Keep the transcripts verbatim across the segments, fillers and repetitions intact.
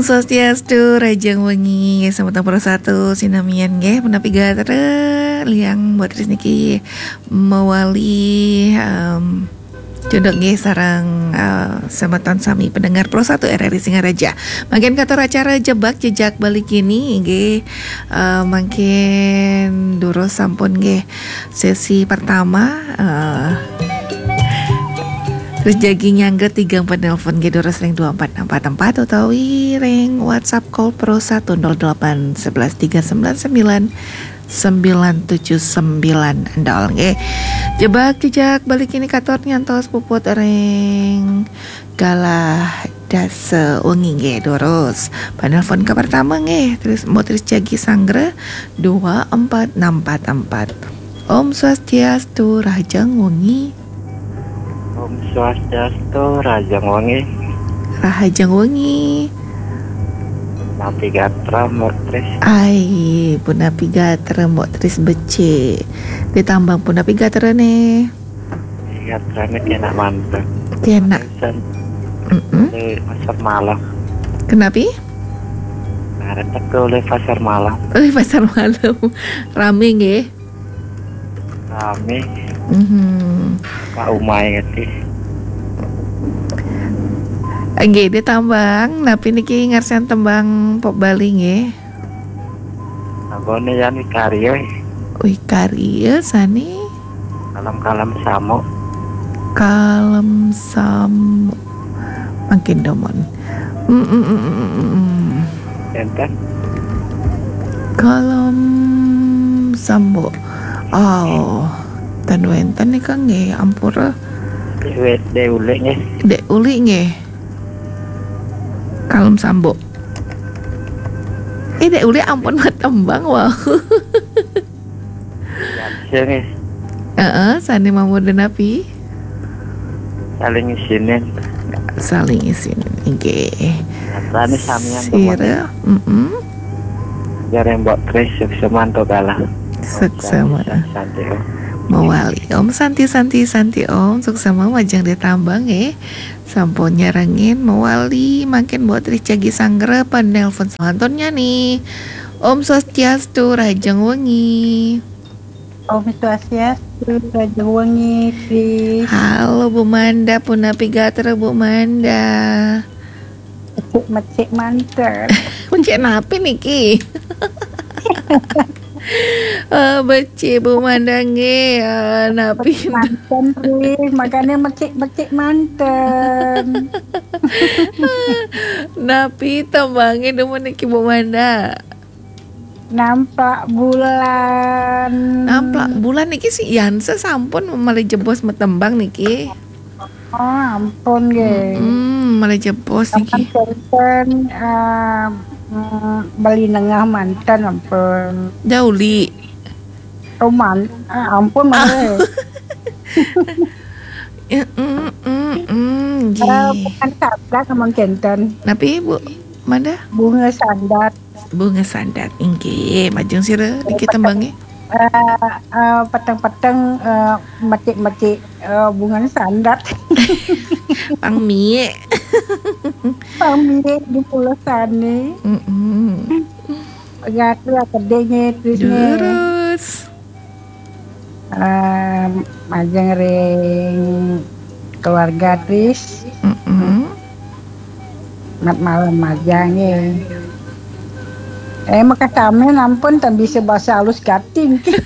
Swastiastu, rahajeng wengi, semeton Pro Satu sinamian nggih, punapi gatra, liang buat ris niki mewali, em, cunduk nggih sareng, eh, semeton sami pendengar Pro Satu R R I Singaraja. Mangkin katur acara Jebak Jejak Bali kini nggih, eh, mangkin durus sampun nggih sesi pertama, eh, terus jagi nyangga tiga empat nelpon nggih durus ring dua empat enam empat empat utawi ring WhatsApp call Pro Satu nol delapan sebelas tiga sembilan sembilan sembilan tujuh sembilan nol nggih. Jebak Jejak Bali kini katur nyantos puput ring galah dasa wengi nggih durus. Panelpon ke pertama nggih, terus mau terus jagi sanggra dua empat enam empat empat. Om Swastiastu, rahajeng wengi. Om Swastiastu, rahajeng wengi. Rahajeng wengi. Napi gatra, Mbok Tris? Ai, punapi gatra, Mbok Tris becik. Ditambang punapi gatra nih. Gatrane kenak mantep. Kenak. Sen. Mm-mm. Di pasar malam. Kenapi? Nah, retek tuh oleh pasar malam. Oleh pasar malam. Rame nggih. Rame. Mhm. Pak Umay ngerti. Nggih, ditambang. Napi niki ngarsan tembang pop Bali nggih? Abone yan wikarya. Wikarya sani? Kalam-kalam samo. Kalam samo. Mangkin domon. Mm, mm, mm, mm, mm. Enten. Kalam sambo. Oh, tan wenten nika nggih, ampura. Dek Uli nggih. Dek Uli nggih. Kalam sambo. Eh, Dek Uli ampun matembang, wau. Sing nggih. Heeh, sane mamurda napi? Saling isinin. Saling isinin, nggih. Gatrane samian. Sira, mm-mm. Jare Mbok Tris sukseman to kalah. Suksema. Santi, Om. Mawali. Om Santi, Santi, Santi, Om. Suksema majeng ditambang, nggih. Sampun nyarengin mawali, mangkin Mbok Tris jagi sanggra penelpon selanturnya nih. Om Swastiastu, rahajeng wengi. Om Swastiastu, rahajeng wengi, Tris. Halo, Bu Manda, punapi gatra, Bu Manda? Mecik-mecik manten. Mecik napi niki? Eh, becik, Bu Manda nggih, eh, napi? Manten, Tris, makanya mecik-mecik manten. Napi tembange demen niki, Bu Manda? Nampak bulan. Nampak bulan niki si Yansa sampun malih jebos matembang niki. Oh, ampun nggih. Mm-mm, malih jebos niki. Sampun, eh, mm, beli nengah manten, ampun. Dauli. Roman, ah, ampun malih. Eh, mm, mm, mm, nggih. Eh, bukan sabda, namun kenten. Napi, Bu Manda? Bunga sandat. Bunga sandat, inggih. Majeng sira niki tembange? Eh, eh, peteng-peteng, eh, mecik-mecik, eh, bunga sandat. Pang mie. Pang mie di pulau sane. Mm-mm. Gatra kedinge, Tris nggih. Durus. Eh, majeng ring keluarga, Tris. Mm-mm. Mat malam majeng nggih. Eh, maka sami nampun ten bisa bahasa halus gati nggih.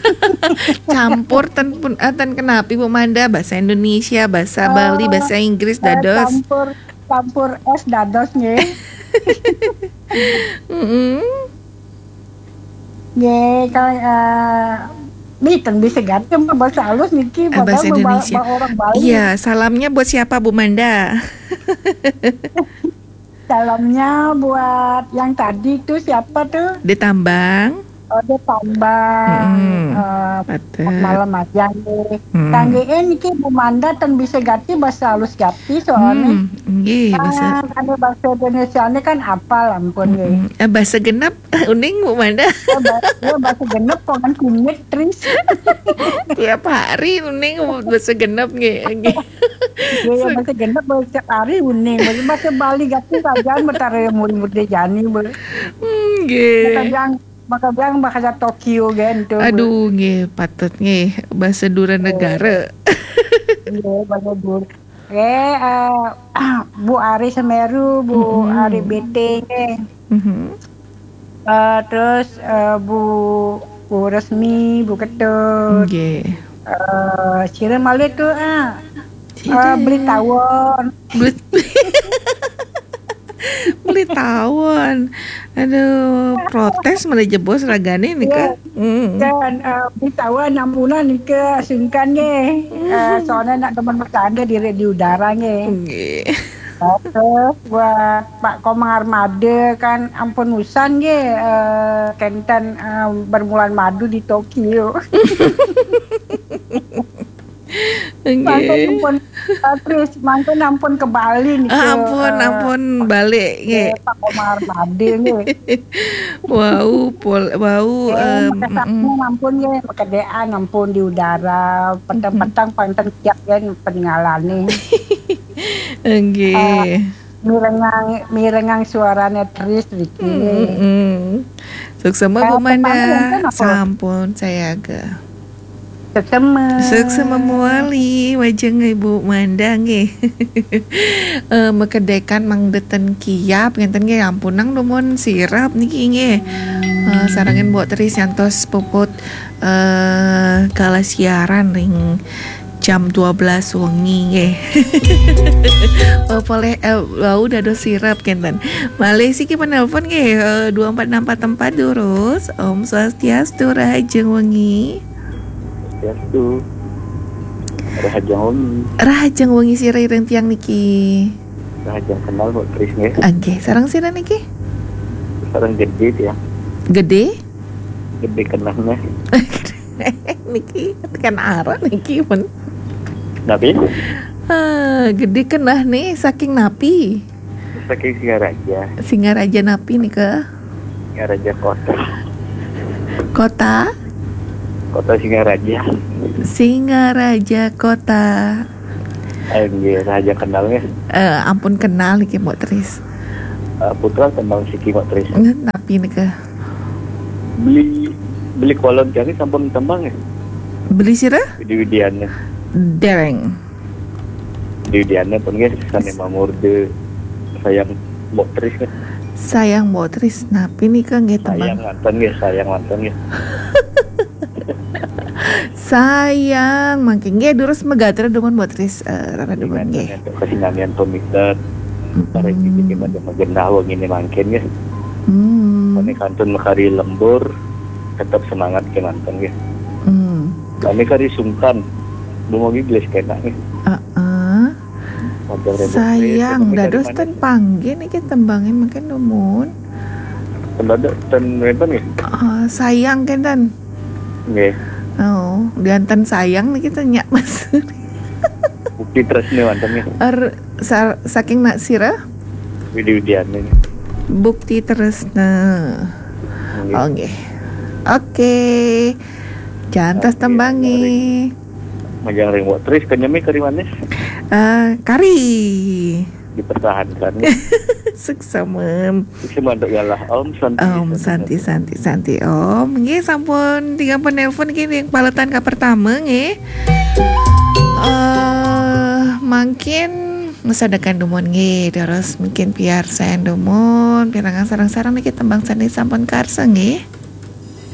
Campur ten pun, eh, ten kenapi, Bu Manda, bahasa Indonesia, bahasa Bali, eh, bahasa Inggris, eh, dados. Campur, campur es dados nggih. Mm-mm. Nggih, kalau, eh, mboten bisa ganti, Mbak, bahasa halus niki, eh, bahasa Indonesia. Orang Bali. Iya, salamnya buat siapa, Bu Manda? Salamnya buat yang tadi tuh, siapa tuh? Di Tambang. Oh, di Tambang. Mm-mm. Eh, malam aja nih. Mm. Kangge niki Bu Manda ten bisa ganti bahasa halus ganti soalnya. Hmm, nggih, bahasa. Ah, kalau bahasa Indonesia ini kan apal ampun nggih. Mm-mm. Eh, bahasa genap uning, Bu Manda? Ya, ba-, ya, bahasa genep, pongan kunyit, Tris. Tiap hari uning bahasa genep nggih, nggih. Iya, masih genep, masih setiap hari uning. Masih, masih Bali gati kerajaan betara murid-murid jani, be. Hmm, nggih. Makajang, makajang bahasa Tokyo kan tu. Aduh, nggih, patut nggih bahasa dura negara. Iya, bahasa dura. Eh, eh, Bu Ari Semeru, Bu Ari B T nggih. Mhm. Eh, terus eh, Bu Bu Resmi, Bu Ketut. Nggih. Eh, sira malih tu ah, Sira. Eh, beli tawon. Beli beli tawon. Aduh, protes malah jebos ragane nih kan. Hmm. Dan eh, beli tawon ampunan ke sungkan nggih. Eh, soalnya nak teman bercanda di di udara nggih. Nggih. Terus buat Pak Komang Armada kan ampun usan nggih eh, kenten eh, bermulan madu di Tokyo. Mangkon Nggih. ampun eh, terus mangkon ampun ke Bali nih. Ah, ampun, ampun balik nggih. Pak Komang Armada nggih. Wau pol wau Eh, em, makasaknya ampun nggih, makedean ampun di udara, peteng-peteng panten siap kan peninggalane. nggih. Mirengang mirengang suarane Tris Riki. Mm-mm. Suksema Bu Eh, Manda. Tepang enten apa? Sampun sayaga. Suksema. Suksema mawali wajeng Ibu Manda nggih. Eh, makedekan mangdeten kiap ngenten nggih, ampunang dumun sirep niki nggih. Eh, sarengin Mbok Tris nyantos puput eh kala siaran ring jam dua belas wengi nggih. Oh, poleh eh, wau dados sirep kenten. Malih siki penelpon nggih eh, dua empat enam empat empat durus. Om Swastiastu, rahajeng wengi. Swastiastu. Rahajeng wengi. Rahajeng wengi sira ring tiang niki. Rahajeng kenal Mbok Tris nggih. Nggih, sareng sira niki? Sareng Gede ya. Gede? Gede kenehne. Niki tekan arah niki pun. Napi? Ah, Gede kenehne saking napi? Saking Singaraja. Singaraja napi nika? Singaraja Kota. Kota? Kota Singaraja. Singaraja Kota. Eh, nggih, rahajeng kenal nggih. Eh, ampun kenal niki Mbok Tris. Eh, putra tembang siki Mbok Tris. Nggih, napi nika? Beli beli kolon jani sampun tembang nggih. Beli sira? Widi Widiana. Dereng. Widi Widiana pun nggih sane mamurde sayang Mbok Tris nggih. Sayang Mbok Tris, napi nika nggih Sayang tembang? Manten nggih, sayang Manten nggih. Sayang, mangke nggih durus megatra dumun Mbok Tris, eh, rara dumun nggih. Untuk kesinamian pemikat. Para Mm-mm. iki pada magenah wengine mangkin nggih. Hmm. Mane kantun makari lembur, tetap semangat kemanten nggih. Hmm. Kami kari sungkan, dumugi gelis kena nggih. Heeh. Wajah rembuk Sayang, kami kari dados manis. Ten panggih niki tembange mangke dumun. Ten dadak ten wenten nggih. Ah, sayang kenten. Nggih. Oh, dianten sayang niki ten nyak Mas. Bukti tresne wonten nggih. Er, sar- saking nak sira? Widi Widiana nggih. Bukti tresna. Nggih. Oh, nggih. Oke. Jantos Oke, tembange. Majang ring Mbok Tris kenyemi kari manis. Eh, kari. Dipertahankan. Suksemen. Sukses untuk galah. Om Santi. Om Santi Santi Santi Om. Nggih sampun tiga penelpon nggih ring paletan ka pertama nggih. Eh, mangkin ngesadekan dumun nggih, terus mungkin piarsan dumun, pirengang sareng-sareng niki tembang sane sampun karsa nggih.